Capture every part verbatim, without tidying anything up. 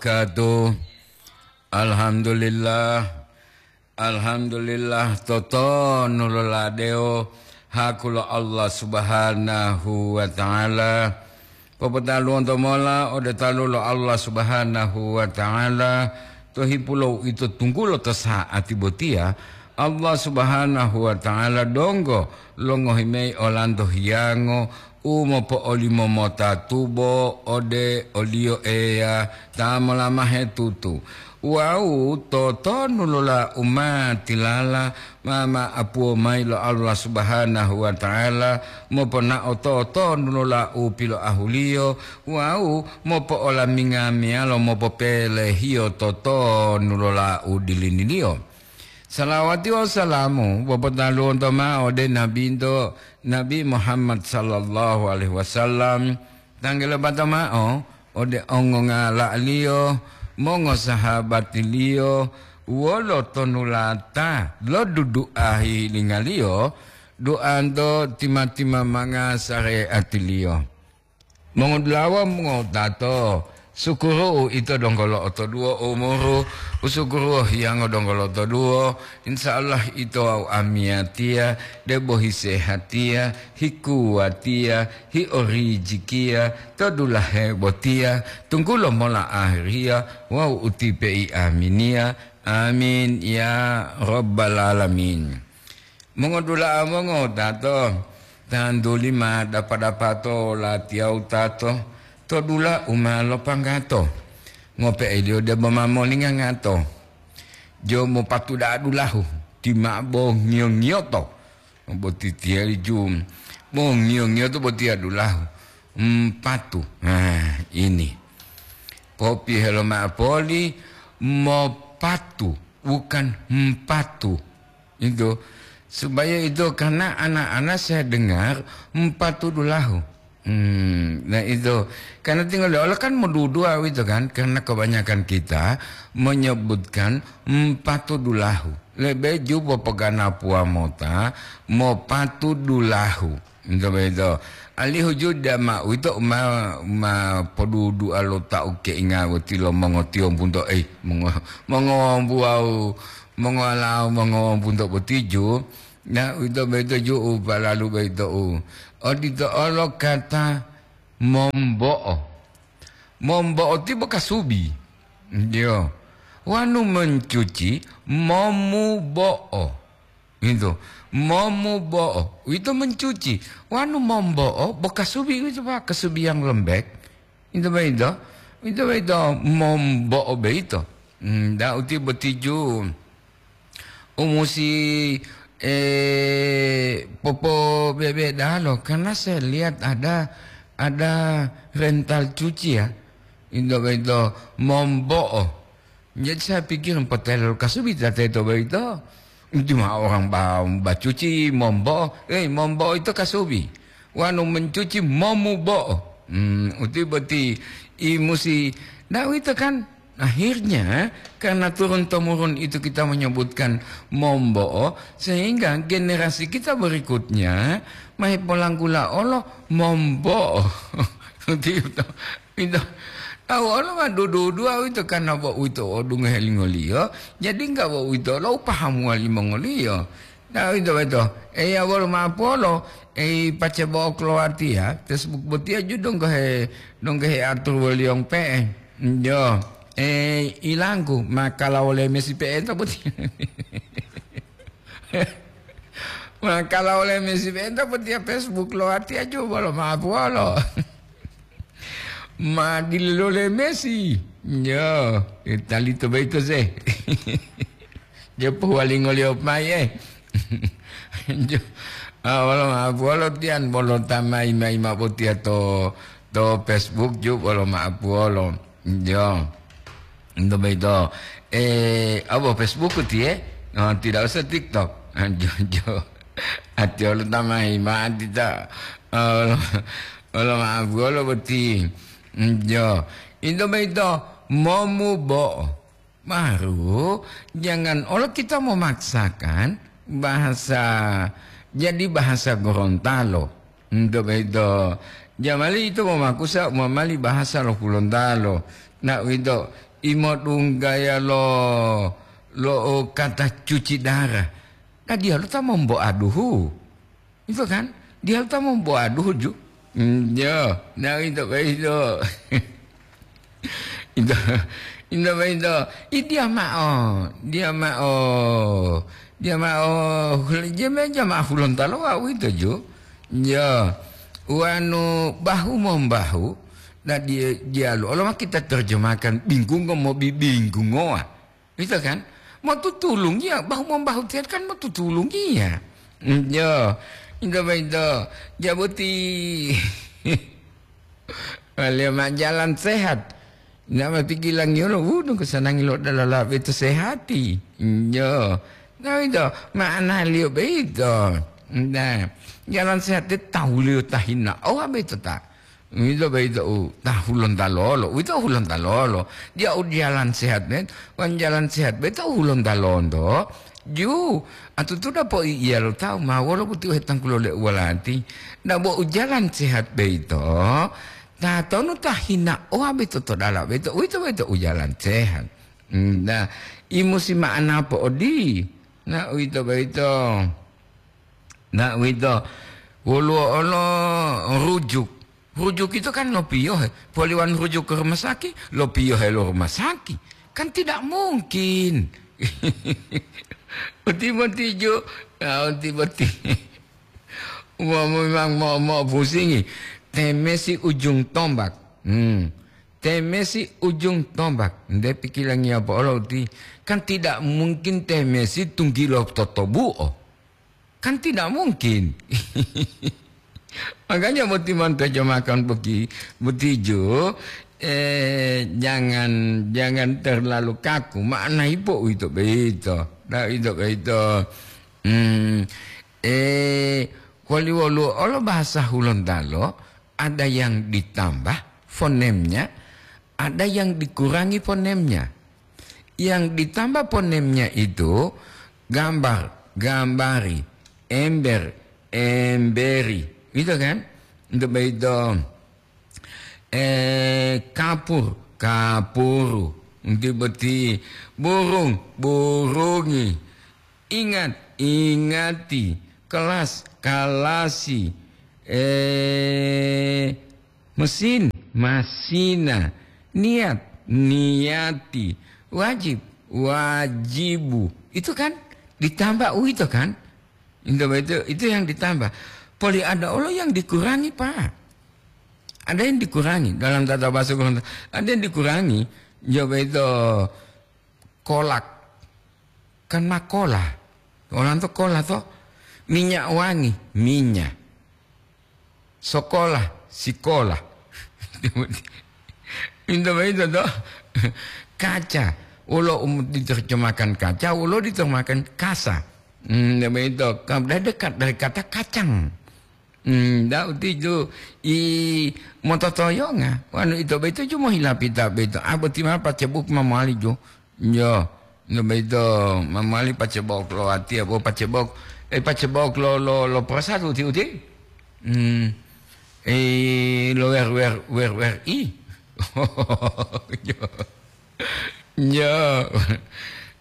Katu. Alhamdulillah. Alhamdulillah, totonu loladewo haku lo Allah Subhanahu wa Ta'ala. Popotaluwonto mola ode talu lo Allah Subhanahu wa Ta'ala, to hipulo ito tunggulo to sa'ati botiya, Allah Subhanahu wa Ta'ala donggo longohi mayi olanto hiyango u mopo'olimo mota tubo ode o-Liyo Eya ta molamahe tutu. Wawu totonu lola u ma tilala ma ma'apuwo mayi lo Allah Subhanahu wa Ta'ala, moponao totonu lola u piloahuliyo wawu mopo'olaminga meyalo mopopelehiyo totonu lola u diliniliyo. Salawati wawu salamu popotaluwonto ma'o ode Nabinto, Nabi Muhammad sallallahu alaihi wasallam, tanggulo bato ma'o ode ongongala'aliyo, mongosahabatiliyo, wolo tonulata lo dudu'a hihilingaliyo, du'anto tima-timamanga sare'atiliyo. Mongodula'a, mongowutato, sukuru'u ito donggo lo'otoduwo umuru, usukuru'u hiyango donggo lo'otoduwo, insya Allah ito wawu amiyatiya, debo hisehatiya, hikuwatiya, hiorijikiya, to dulahe botiya, tunggulo mola ahiriya wawu utipe'i aminiya. Amin, ya Rabbal Alamin. Mongodula'a mongowutato, tantuli ma dapa-dapato latiya wutato to dula u ma lopanggato. Ngope'eliyo debo ma molingangato. Jo mopatu da'a dulahu, ti ma bo ngiyo-ngiyoto. Boti tiyali ju, bo ngiyo-ngiyoto botiya dulahu. Mpatu. Nah, ini. Popiyohe loma'o poli, mopatu, bukan mpatu. Itu, supaya itu, karena anak-anak saya dengar mpatu dulahu. Hmm, nah itu, karena tinggal Allah kan modudua itu kan, karena kebanyakan kita menyebutkan mpatu dulahu. Lebe ju popoganapuwa mota, mopatu dulahu. Ito boyito. Alihu ju dama uwito ma, ma podudu'a lo ta ukeinga boti lo mongotiyombu nto, eh, mongo-, mongowombu wawu mongowalao mongowombu nto boti ju, na uwito boyito ju u palalu boyito u. Odito olo kata mombo'o. Mombo'o ti bo kasubi. Yo. Wanu mencuci, momubo'o. Gitu. Momubo'o. Uwito mencuci. Wanu mombo'o, bo kasubi uwito, Pak, kasubi yang lembek. Itu boyito. Itu boyito mombo'o boyito. Hmm, da uti botiju. Umusi, eh, popo bebe dalo. Karena saya lihat ada, ada rental cuci ya. Itu boyito mombo'o. Jadi saya pikir potelo kasubi ta teto boyito. Cuma orang ba-, bacuci mombo, eh, mombo itu kasubi. Wanu mencuci momubo. Hmm, uti boti i musi. Nah, itu kan akhirnya karena turun-temurun itu kita menyebutkan mombo, sehingga generasi kita berikutnya mahe polanggula olo mombo. Uti itu. Ito, tawu olo ma dudu-duduwa uwito, karna bo uwito odungohe lingoliyo, jadi engga bo uwito olo upahamuwa limongoliyo. Na uwito boyito, Eya wolo ma'o polo, ei pace bo'o kolowatiya, Facebook botiya ju donggohe, donggohe atur woliyong pe'e. Jo, ei ilangku, ma kala wole mesi pe'enta botiya. Ma kala wole mesi pe'enta botiya Facebook lowatiya ju wolo ma'o polo. Ma diloleme si. Yo, talito boyito se. Jo pohuwalingoliyo mayi, eh. Jo, ah, wolo ma'o polo tiyan, bolo ta mayi-mayi ma'o botiya to, to Facebook ju wolo ma'o polo. Jo. Ento boyito, eh, apa Facebook tiye? Oh, tidak usah TikTok. Ah, jo, jo. Ati olo ta mayi ma'o tita. Olo, olo ma'o polo boti. Jo. Ento boyito momubo'o. Baru, jangan olo kita memaksakan bahasa, jadi bahasa Gorontalo. Ento boyito, jamali ito momakusa, momali bahasa lo Hulontalo. Na uwito, Imodunggaya lo, lo kata cuci darah. Nah, diyalu ta momboaduhu. Itu kan? Diyalu ta momboaduhu ju. Hmm, ya, nah itu, itu. Itu, itu, itu. Ih, dia ma'o, dia ma'o, dia ma'o, hul-, dia me-, dia ma'o Hulontalo wa'u itu ju. Ya, wanu bahu-membahu, nah, dia, diyalu. Kalau kita terjemahkan bingkungo mobi bingkungoa. Gitu kan? Mau tutulungiya, bahu-membahu tiyan kan mau tutulungiya. Hmm, ya, itu, itu. Ya, boti. Wale ma jalan sehat. Ndak ma pikilangiyo lo, uh, nunggu sanangi lo dalala beto sehati. Iyo. Nah, itu maknaliyo beito. Nah, jalan sehat de tahuliyo tahina. Oh, beito ta. Itu beito, uh, ta Hulontalo lo. Itu Hulontalo lo. Dia u jalan sehat, men. Wan jalan sehat beito Hulontalo ndo. Ju, atutu dapo iya lo tahu ma wolo boti u hetangkulo le uwalati. Ndak bo u jalan sehat beito. Tatonu ta hina oa beito to dala beito, uwito boyito u jalan sehat. Hmm, nah, i musi ma'ana po'odi. Nah, uwito boyito. Nah, uwito. Woluwo olo rujuk. Rujuk itu kan lopiyohe. Poliwan rujuk ke rumah sakit, lopiyohe lo rumah sakit. Kan tidak mungkin. Uti boti ju. Ah, uti boti. Wah, memang mau, mau pusingi. Temesi ujung tombak. Hmm. Temesi ujung tombak. Nde pikilangiya po'olo uti. Kan tidak mungkin temesi tunggilo totobu'o. Kan tidak mungkin. Makanya boti mantojo makan boti, boti ju, eh, jangan, jangan terlalu kaku. Makna ipo uwito boyito. Nah, uwito boyito. Hmm, eh, wali woluwo olo bahasa Hulontalo, ada yang ditambah fonemnya, ada yang dikurangi fonemnya. Yang ditambah fonemnya itu gambar, gambari, ember, emberi. Gitu kan? Untuk begitu, eh, kapur, kapuru. Untuk boti burung, burungi. Ingat, ingati. Kelas, kalasi. Eh, mesin, masina. Niat, niati. Wajib, wajibu. Itu kan ditambah uwito kan? Itu, itu, itu yang ditambah. Poli ada olo yang dikurangi, Pak. Ada yang dikurangi dalam tata bahasa Gorontalo. Ada yang dikurangi, coba itu kolak. Kan makola. Orang tuh kola tuh. Minyak wangi, minyak. Sekolah, sikola. Pintu begitu tuh. Kaca. Ulo um, diterjemahkan kaca, ulo diterjemahkan kasa. Hmm, begitu. Kam-, dari dekat dari kata kacang. Hmm, da uti ju i mototoyonga. Wanu ito beto ju mohila pita beto. Ah, boti ma pacebuk ma mowali ju. Yo, no beto ma mowali pacebok lo ati abo pacebok, eh, pacebok lo, lo, lo prasad uti, uti. Hmm. Eh, lo wer, wer, wer, wer i. Yo. Yo.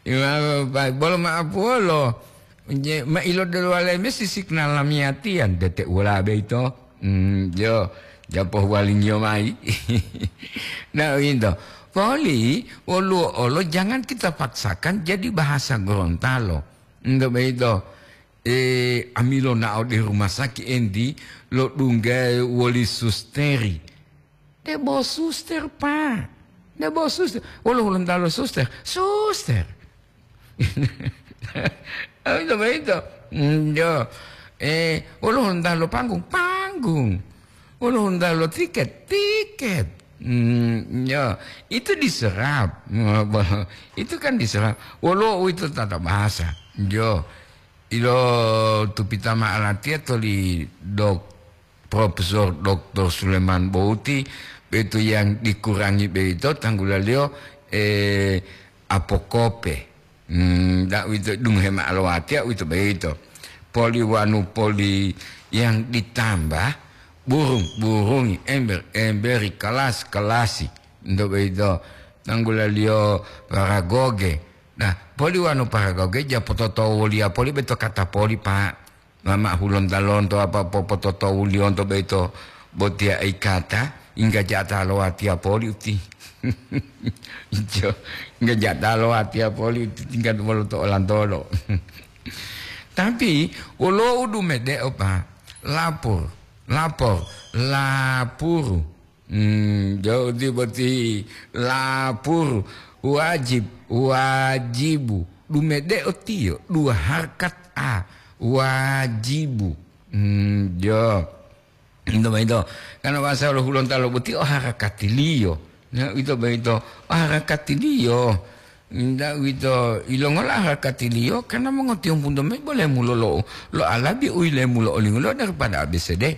Ima pa-, bolo ma'apuwolo. Je, ma ilodelo wale me sisik na lamiyatiyan, dete uwala beito. Hmm, yo, japo huwalingiyo mayi. Nah, winto. Poli, woluwo olo jangan kita paksakan jadi bahasa Gorontalo. Ento beito, eh, amilo nao de rumah sakit enti lo dunggae woli susteri. Debo suster, Pak. Debo suster. Wolo Hulontalo suster. Suster. Ah, itu begitu. Hmm, yo. Eh, wolo Hulontalo panggung, panggung. Wolo Hulontalo tiket, tiket. Hmm, yo. Itu diserap. Itu kan diserap. Wolo itu tata bahasa. Yo. Ilo tupita ma'alatiya toli dok-, Profesor Doktor Suleman Bouti, beito yang dikurangi beito tanggulaliyo, eh, apokope. Hmm, da uwito dungohe ma'alowatiya uwito beito. Poli wanu poli yang ditambah, burung, burungi, ember, emberi, kelas, kelasi. Ento beito. tanggulaliyo paragoge. Nah, poli wanu paragoge, ja pototowuliya poli beto kata poli, Pak. Mama hulonta lonto apa popototowuliyonto boyito botiya ikata, ingga jata lo watiya poli uti. Ijo, ingga jata lo watiya poli uti tingkat wolo to olantolo. Tapi, wolo udu mede'o, Pak. Lapor, lapor, lapuru. Hmm, jauti boti lapur, wajib, wajibu. Dumede'o tiyo, dua harkat a, wajibu. Hmm, jo. Ito boyito, karena bahasa lo Hulontalo boti o harakatiliyo. Ya, ito boyito, o harakatiliyo. Nda uwito, ilongola harakatiliyo, karena mongotiyombu mayi bole mulo lo, lo alabi u ilemulo olingulo daripada A B C D.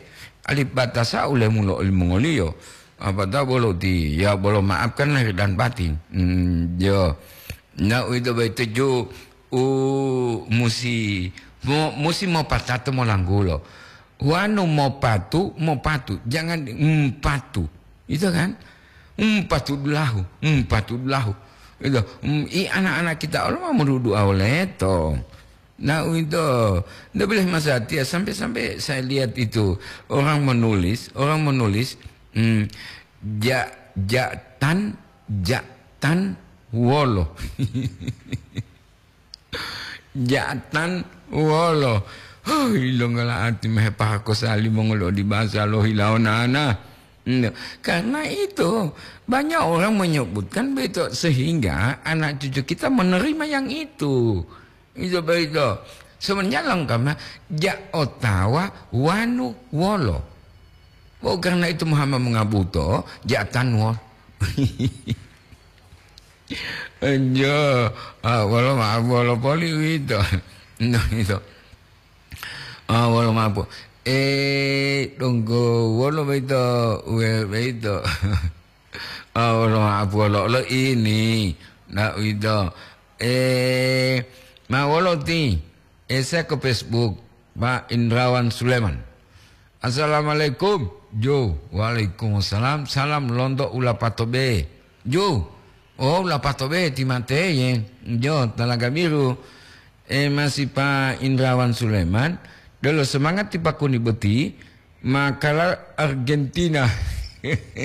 Alipatasa ulemulo olimongoliyo. Apatao bolo ti, ya bolo maafkan lahir dan batin. Hmm, yo. Na uwito boyito ju u musi, mo-, musi mopatato molanggulo. Wanu mopatu, mopatu. Jangan di-, mpatu. Itu kan? Mpatu dulahu, mpatu dulahu. Itu. Mm, i anak-anak kita olo ma modudu'a woleto. Nah, itu. Ndak boleh masatiya. Sampai-sampai saya lihat itu. Orang menulis, orang menulis, mm, ja-, jatan, jatan wolo. Ja'atan wolo. Huh, ilongola ati mehe pahako sali mongoli odi basa lo hilawo nana. Nah, karena itu, banyak orang menyebutkan begitu, sehingga anak cucu kita menerima yang itu. Itu begitu. Sebenarnya lengkapnya, ja otawa wanu wolo. Oh, karena itu Muhammad mengabuto, ja'atan wolo. Enjo, ah, wolo maaf, wolo poli uwito. No, ito. Ah, wolo maaf. Eh, donggo, wolo boyito, we-, boyito. Ah, wolo maaf, wolo, lo ini. Nah, uwito. Eh, ma wolo ti? Ese ke Facebook, Pak Indrawan Suleman. "Assalamualaikum." Jo, "Waalaikumsalam, salam lonto Ulapato B." Jo, "Oh, Ulapato B, ti mateye." Jo, Talaga Biru. Eh, masih Pak Indrawan Suleman, delo semangat ti pakuni boti, makala Argentina.